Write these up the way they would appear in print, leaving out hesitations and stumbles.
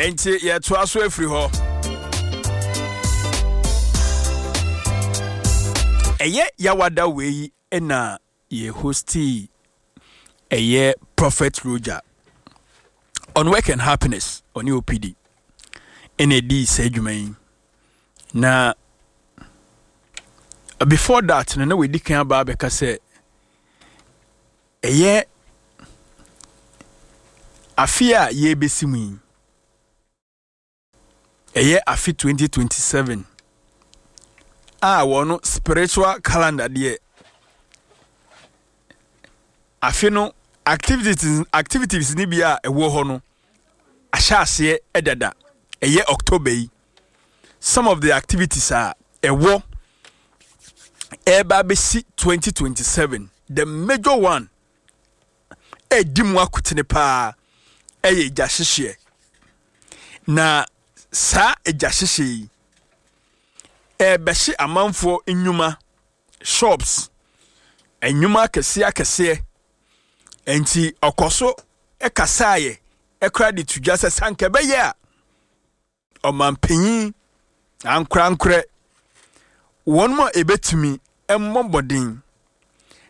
Enti yɛtoa so afiri hɔ. Ɛyɛ Yawada wei na yɛ hostii ɛyɛ Prophet Roger on work and happiness, ɔne OPD ɛna ɛdii saa adwuma yi. Na before that no, na wɔadi kan aba abɛka sɛ ɛyɛ afe a yɛrebɛsi mu yi, ɛyɛ afe 2027 a wɔn spiritual calendar deɛ, afe no activities no bi a ɛwɔ hɔ no ahyɛ aseɛ dada. Ɛyɛ October yi, some of the activities a ɛwɔ ɛreba abɛsi 2027, the major one ɛredi mu akotene paa ɛyɛ gya hyehyeɛ. Na saa gya hyehyeɛ yi ɛrebɛhye amanfoɔ nnwuma, shops, nnwuma akɛseɛ akɛseɛ. Nti ɔkɔ so kasaeɛ ɛkora de to dwa sɛ sanka ɛbɛyɛ a ɔmanpanyin ankorankorɛ, wɔn a ɛbɛtumi mmɔ mmɔden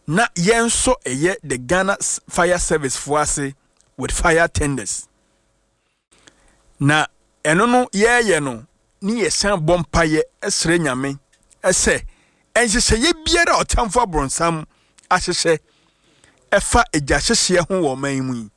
na yɛn nso ɛyɛ the Ghana Fire Service foɔ ase with fire tenders. Na ɛno no yɛɛyɛ no ne yɛsan bɔ mpaeɛ srɛ Nyame sɛ nhyehyɛeɛ biara a ɔtamfo abrɔnsam ahyehyɛ ɛfa egya hyehyeɛ ho wɔ ɔman yi mu yi.